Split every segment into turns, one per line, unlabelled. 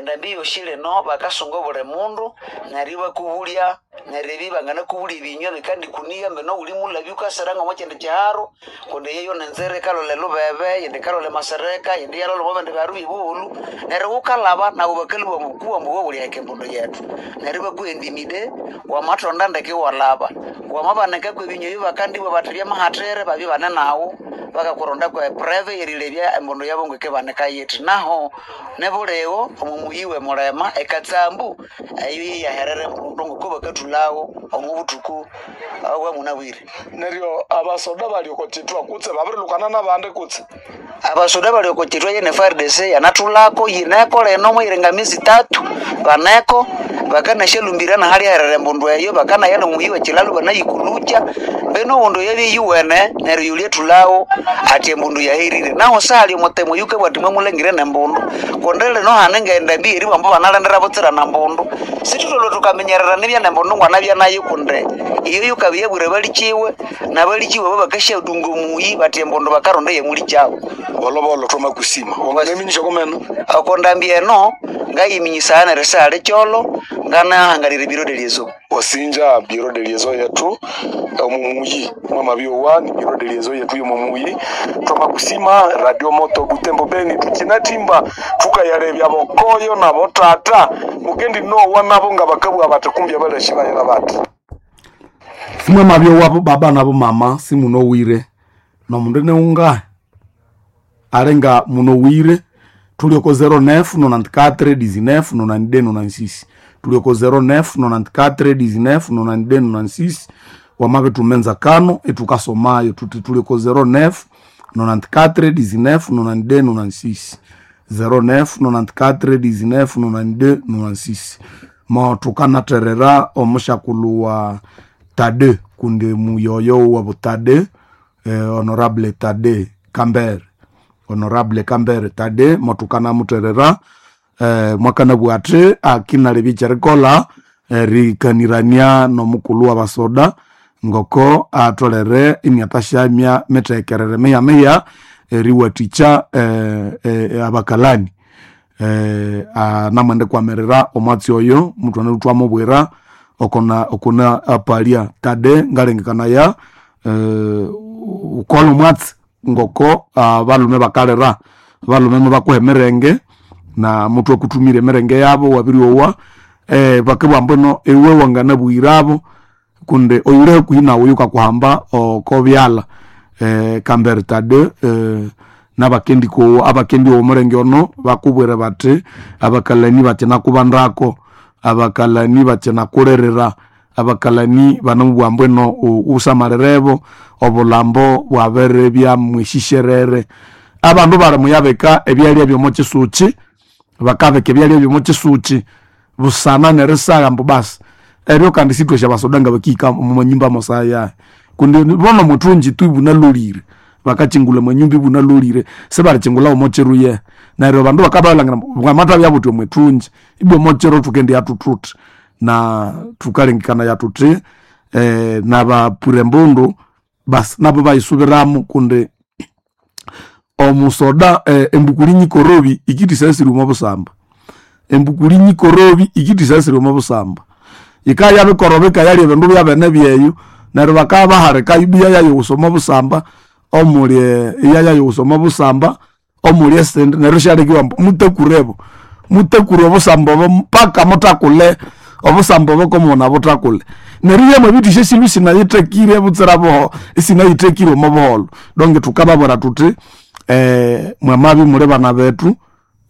Endambi yosi lino bakasunga obuli mundu neryo ibakubulya, neryo ebi banganakubulya ebinywa bikandikuniya mbino wuli mulabya wukasira ng'omo kyindi kyiharo, kundi eyo nenzira yikalolha elubebe, eyindi yikalolha emasereka, eyindi iyalolha omo bindi biharu byebuholho, neryo wukalhaba nabo bakalhwa ambu ambu wuliheka embundu yethu, neryo ibakuhendimide wamathonda ndeke iwalhaba, wamabanika kwebinywa ebyo bakandibugha bathi byamahathire babya ibane naghu bakakurondako epreve erilebya embundu yabo ng'wikibanika yithi. Naho nibuligho omo muyi we Mulema ekatsambu eyo yeyaherera embundu ngoko bakathulhawo omo buthuku obwa munabwire.
Neryo abasoda bali oko kithwa kutse babirilukana nabandi kutse?
Abasoda bali oko kithwa yene FARDC yanathulhako yineko lino mwayiringa miezi ithathu baneko bakanasyalumbira nahalyaherera embundu eyo, bakanaya nomuyi wekyilalhu banayikulukya mbino ogundi oyabya iyuwene neryo yulya athulhawo athi embundu yaherire. Naho sihali omutemu oyukabugha athi mwamulhangire nembundu kundi lino hane ngendambi eyeribugha ambu banalindira butsira nembundu. Sithutholere thukaminyerera nibya nembundu ngwanabya nayo kundi iyo yukabya yabwira abalikiwe nabalikiwe abo bakasyadunga omuyi bathi embundu bakaronda eyamulikyabu.
Bolobolo twamakusima wanganaminyisya komeno?
Oko ndambi eno ngayiminyisaya neryo sihali kyolo nganahangalira ebiro de liaison.
Wasinja bureau de liaison yetu omumuyi mwamabyowa ni bureau de liaison yetu yomumuyi twamakusima Radio Moto Butembo Beni tukinatimba tukayalebya bokoyo nabo tata mukendi nowa nabo nga bakabwa bati kumbya balashi bayira bati
Simwe mabyowa bo baba nabo mama simunowire nomundu neunga alenga munowire tulioko 09 94 19 92 96 tulioko 09 94 19 92 96 wamabe tumenza kano etukasomayo tuti tulioko 09 94 19 92 96 09 94 19 92 96 mo tukanaterera omushakulu wa Tade kundi muyoyo wa Tade, honorable Tade Kambere, honorable Kambere Tade motukana muterera, mwakana bwate akinalebya ekyerikola erikanirania nomukulu wa basoda ngoko atolere imyatashamya mitekerere miya miya eriwathikya abakalani, namwende kwamirira omwatsi oyo mutwana twamubwira okona okona apalia Tade ngalengekanaya, ukola omwatsi ngoko abalume bakalira abalume mubakuha emirenge na muthu akuthumira emirenge yabo wabiryowa, bakabugha mbwino iwe wanganabuyirabo kundi oyuli hakuhi nawu yukakuhamba oko byalha, Kambere Tade, nabakendikowa abakendiowa omulenge ono bakubwira bathi abakalani bakinakubandako, abakalani bakinakulirira, abakalani banamubugha mbwino wusamalirebo obulambo bwabiribya mwishisherere. Abandu bali muyabika ebyalya byomo kyisukyi, bakabika ebyalya byomo kyisukyi busana nerisagha ambu basi eryo kandi sithwasi abasoda ngabakihika omwanyumba mosaya kundi bono muthungi tu ibunalolire bakakyingulha omwanyumba ibunalolire sibalikyingulha omo kyiruye neryo abandu bakabalhangira bwamathabya buthi omwithungi ibwa omokiro thukendiya thuthuthi na thukalengekanaya thuthi, nabapura embundu basi nabo bayisubiramu kundi omusoda, embukuli nyikorobi ikithisasira omo busamba, embukuli nyikorobi ikithisasira omo busamba yikabya bikoroba ikayalya ebindu byabene byeyo neryo bakabya baharika ibwa iyayayoghusa omo busamba omuli iyayayoghusa omo busamba omuli esindi neryo isyalekiwa ambu mutakurebo mutakure obusamba obo paka muthakule obusamba obo komughuna buthakule neryo iyamwabithisya esilhu isinayithekire butsira buho isinayithekire omo buholho. Donc thukababwira thuthi, mwamabya imuli bana bethu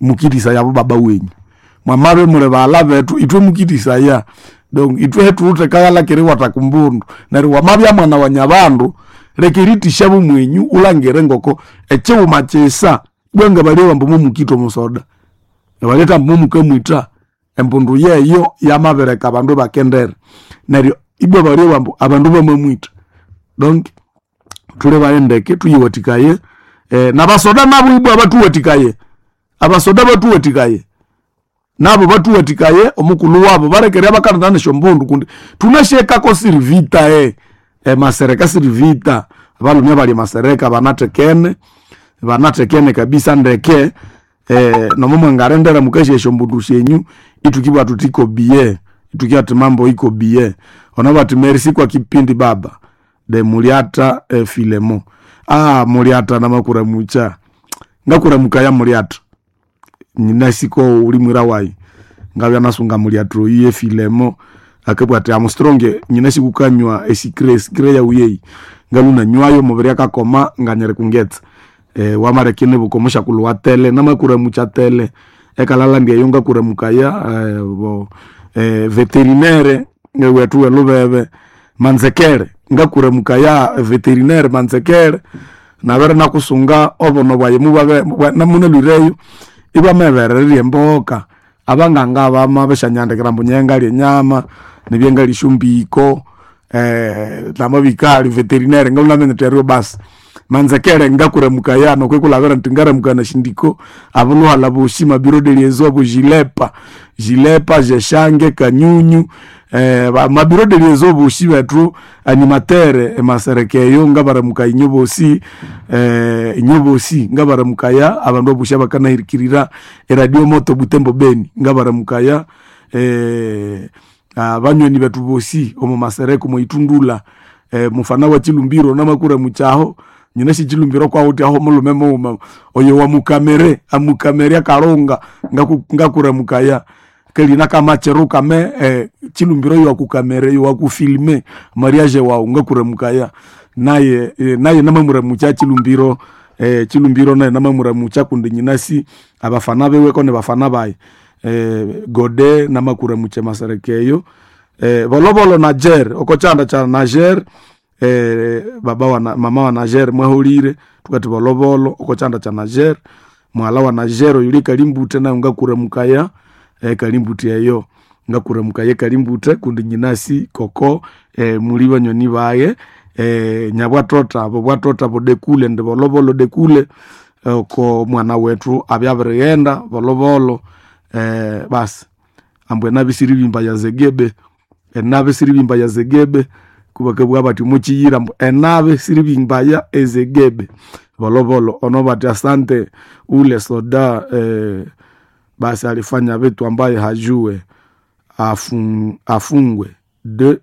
mukithisaya abo baba wenyu, mwamabya imuli baghalha bethu ithwe mukithisaya donc ithwe hethuwithe kaghalha keriwatha kumbundu neryo wamabya mwana wa nyabandu leka erithisya bumwenyu wulhangire ngoko ekighuma kyisa ibwa ngabalyowa ambu mumukitha omusoda ebaletha ambu mumukamwitha embundu yeyo yamabireka abandu ibakendera neryo ibwa balyowa ambu abandu bamamwitha. Donc thulebaye ndeke thuyiwathikaye, nabasoda nabo ibwa bathuwathikaye, abasoda bathuwathikaye nabo bathuwathikaye omukulhu wabo balekere abakanatana esyombundu kundi thunasyekako sirivita, emasereka sirivita abalhume abali emasereka banathekene banathekene kabisa ndeke. Nomo mwangarendera mukashesha mbundu shenyu itukibwa tutiko bie itukia ati mambo iko bie ona bati merci kwa kipindi baba de muliata Filemo. Muliata namakura mucha ngakura mukaya muliata nyinasiko uli mwira wayi ngabya nasunga muliatro iye Filemo akabwa ati amstronge nyinasikukanywa esikre esikre ya uyeyi ngaluna nywayo mubiri akakoma nganyere kungetsa wamarekene bukomosha kulwa tele namakura mucha tele ekalala ndiyeyo ngakura mukaya bo veterinaire wetu welubebe manzekere ngakura mukaya veterinaire manzekere nabere nakusunga obono bwaye mubabe namunelwireyo ibwamebererie emboka abanganga bama beshanyandikira mbu nyengalya enyama nibyengalya esyombiko namabikali veterinaire ngamunamenyete eryo basi manzekere ngakuramukaya nokwekulabira nti ngaramukana shindiko abuluhala boshi mabiro de liaison bo jilepa jilepa jeshange kanyunyu mabiro de liaison boshi bethu animatere emaserekeyo ngabaramuka inyo bosi inyo bosi ngabaramukaya abandu aboshi abakanahirikirira eradio moto Butembo Beni ngabaramukaya abanyweni bethu bosi omu masereko moitundula mufana wa chilumbiro namakura muchaho nyina shichilumbiro kwauti aho mulume muuma oyo wamukamere amukamere akalonga ngakura mukaya kelina kamachero kame chilumbiro yo akukamere yo akufilme mariage wao ngakura mukaya naye naye namamura mucha chilumbiro chilumbiro naye namamura mucha kundi nyinasi abafana bewe kone bafana baye gode namakura mucha maserekeyo bolobolo Niger okochanda cha Niger baba wa mama wa Niger mwahulire tukati bolobolo okochanda cha Niger mwala wa Niger yuli kalimbute nayo ngakura mukaya kalimbute eyo ngakura mukaya kalimbute kundi nyinasi koko muli banyoni baye nyabwatota abo bwatota bodekule ndi bolobolo dekule oko mwana wetu abyabirighenda bolobolo basi ambwe nabisiribimba ya zegebe enabe siribimba ya zegebe kubakabwa bati muchiyira mbu enabe siribimba ya ezegebe bolobolo ono bati asante ule soda basi alifanya vitu ambaye hajue afungwe 2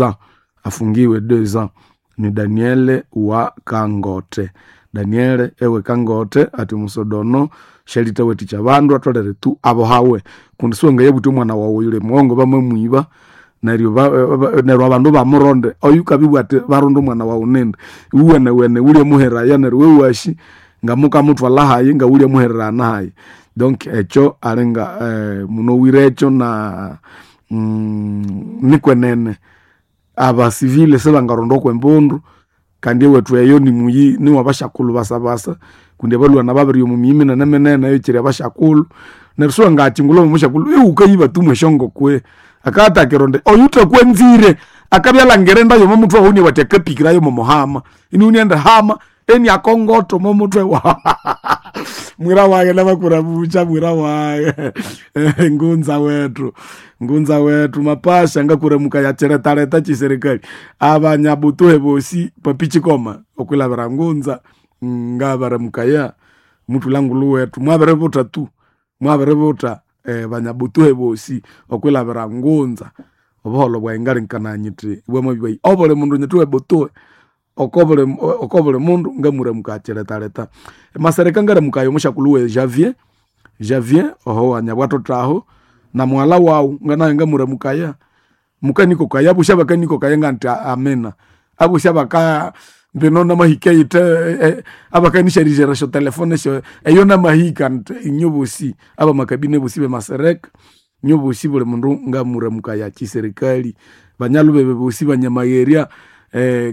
ans afungiwe 2 ans ni Daniele wa Kangote. Daniele ewe Kangote ati musodono shelita weticha bandu atolere tu abo hawe kundi siwenga yebuti omwana wawe yule mwongo bamwe neryo neryo abandu bamuronde oyu kabibwa ati baronde omwana wawu nindi iwene wene ulye muheraya neryo wewashi nga mukamutwala hayi nga ulye muhererana hayi donc ekyo alinga munowire ekyo na nikwenene abasivile sebangaronda okwembundu kandi ewethu eyo nimuyi niwabashakulhu basabasa kundi abalwana babiri omu miyi minene minene eyo kyiri abashakulhu neryo siwangakingulha omushakulhu iwukayiba tumwe eshongokwe akatakironde oyutakwenzire akabya alangire enda yomo mutwe wawu niwati akapikirayo momuhama iniunienda hama eni akongoto momutwe wa mwira wake namakura bucha mwira wake ngunza wetu ngunza wetu mapasha ngakuramuka yacheretareta chiserikali abanyabutuhe bosi papichikoma okwilabira ngunza ngabaramukaya mutulangulu wetu mwabiributa tu mwabiributa banyabutuhe bosi okwilabira ngunza obuholo bwayi ngalinkana nyiti bwamabibwayi obuli mundu nyiti webutuhe okobuli mundu ngamuramuka achiretareta masereka ngaramukayo omushakulu we Javier Javier oho wanyabwatotaho na mwala wawu nganaye ngamuramukaya mukanikokaya abusha bakanikokaya nganti amena abusha baka mbino namahika yite abakanisharijera sho telefone sho eyo namahika nti inyo bosi abamakabine bosi bemasereka inyo bosi buli mundu ngamuramukaya chiserikali banyalubebe bosi banyamayeria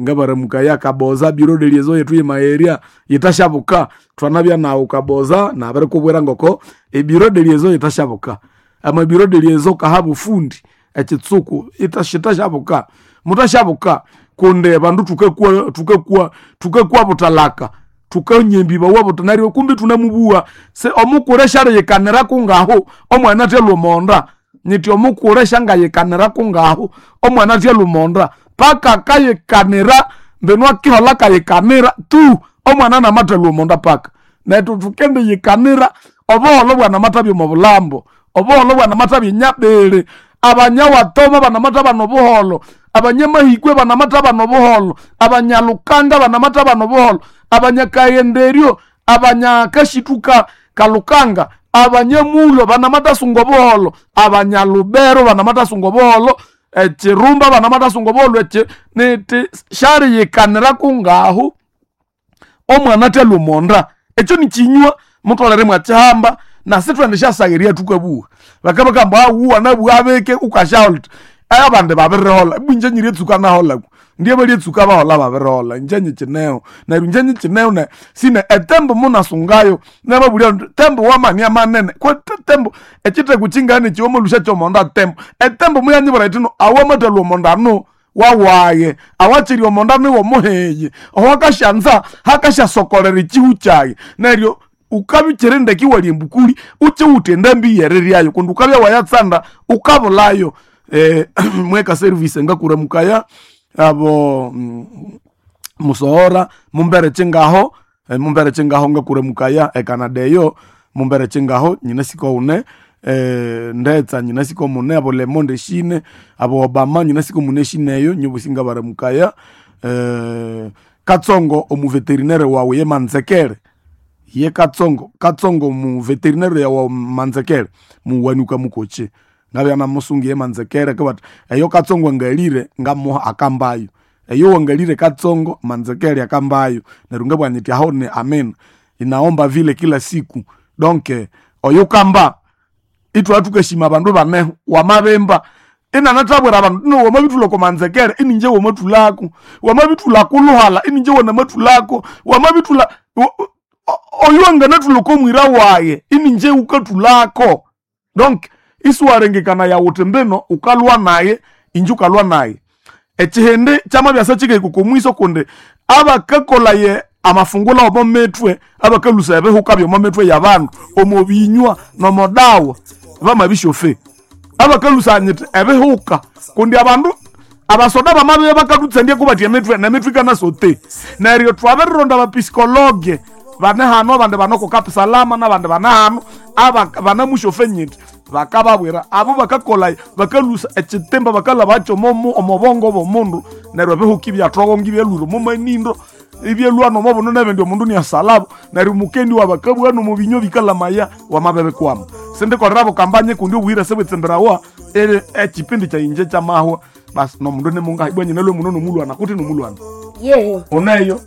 ngabaramukaya kaboza biro de liaison yetu yemayeria yitashabuka twanabya nawu kaboza nabirikubwira ngoko ebiro de liaison yitashabuka amabiro de liaison kaha bufundi ekitsuku itashitashabuka mutashabuka kundi bandu tukakua tukakua tukakua butalaka tukanyembiba wabuta neryo kumbi tunamubuwa se omukure shaliyikanira kungaho omwana atya lumonda nyiti omukure shangayikanira kungaho omwana atya lumonda paka kayikanira mbinu akihola kayikanira tu omwana namatha lumonda paka netu tukendiyikanira Obuholo bwanamathabya omo bulambo, obuholo bwanamathabya enyabiri, abanyawatoma banamatha bana obuholo, abanyamahikwe banamatha bana obuholo, abanyalukanga banamatha bana obuholo, abanyakayenderyo, abanyakashithuka kalukanga, abanyamulo banamathasunga obuholo, abanyalubero banamathasunga obuholo, echirumba banamathasunga obuholo, echi niti shariyikanira kungahu omwana athalwa omonda. Ekyo nikinywa mutholere mwakihamba nasi twendisyasaghirya thukabuwa. Bakabakamba awuwa nabuwa abike ukasyahola uthi abandi babiriholha ibwa inje nyiryetsuka naholhaku, ndye balyetsuka baholha babiriholha inje nyikineho. Neryo inje nyikineho sine etembo munasungayo nababulya indi tembo wamani amanene kwe tembo ekitheko kyingani ekyi kyomonda tembo. Etembo muyanyibwira yithino awamathalwa omonda anu wawaye, awakyiri omonda niwomuheyi, owakasyanza hakasyasokolera ekihu kyayi. Neryo ukabya wukyiri ndeke iwalya embukuli wukiwutha endambi yeriryayo kundi ukabya wayatsanda ukabulayo. Mweka service ngakuramukaya abo musohora mumbere kyingaho, mumbere kyingaho ngakuramukaya ecanada eyo mumbere kyingaho nyinasiko wune, ndetsa nyinasiko mune, abo lemonde eshine, abo obama nyinasiko mune eshine eyo nyobosi ngabaramukaya. Katsongo omuveterinere wawu ye Manzekere, ye Katsongo, Katsongo muveterinere yawu Manzekere muwanuka mukochi ngabya namusungu ye Manzekere kabathi eyo Katsongo angalire ngamuha akambayo, eyo wangalire Katsongo Manzekere akambayo. Neryo ngabugha nyithi aho ni amina, inaomba vile kila siku. Donc oyo kamba ithwabya thukashima abandu baneho wamabimba inanathabwira abandu ino wamabithulha oko Manzekere ininje wamathulako, wamabithulha kuluhala ininje wanamathulako, wamabithulha oyo anganathulha oko mwira waye ininje wukathulako. Donc isiwarengekana wuthi mbino wukalwa naye inje wukalwa naye. Ekihindi kyamabyasa kyikahika oko mwiso kundi abakakolhaye amafungula omo mithwe, abakalhusa ebihuka byomo mithwe yabandu omo binywa nomo dawa bamabisyofe. Abakalhusa nyithi ebihuka kundi abandu abasoda bamabya bakathutsandya kubathi emithwe nemithwe ikanasote. Neryo twabirironda abapisikologe bane hano abandi bane oko Cape Salama nabandi bane hano aba banamusyofe nyithi bakababwira abo bakakolha bakalhusa ekitimba bakalhabakyo omo bongo bw'omundu neryo ebihuka ibyathogonga ibyalhwira omo manindo ibyalhwa nomo buno nebindi omundu iniasalabo neryo mukendi wabakabugha nomo binywa bikalamaya wamabibikwama. Sindikolera bukambanye kundi obuhire sibwitsemberawa eri ekipindi kyayinje kyamahwa basi nomundu nimungahi ibwa nyinalwe muno nomulwana kuti nomulwana.
Yehe.
Uneyo?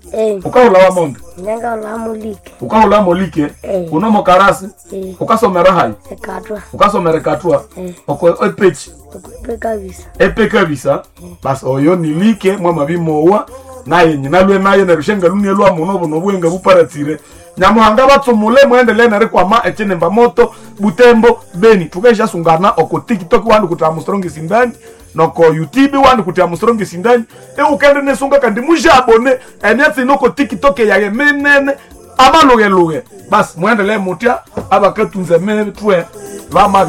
Ukahulha wamonde?
Nyangaula mulike.
Ukahulha molike? Unomo karasi? Ukasomera hayi?
Ekatwa.
Ukasomera ekatwa? Oko epechi?
Epe kabisa.
Epe kabisa? Basi oyo nilike mwamabimowa naye nyinalwe naye neryo shengalunie lwa muno buno bwenga buparatsire. Nyamuhanga batsumule muendelee nerikwama ekinimba moto Butembo Beni. Tukaishasungana oko TikTok wandi kuti Armstrong Sindani noko YouTube wandi kuti Armstrong Sindani. Eukende nesunga kandi mujabone emyatsi noko TikTok yaye minene amalugheluge. Basi muendelee mutya abakatunza emitwe bamabya.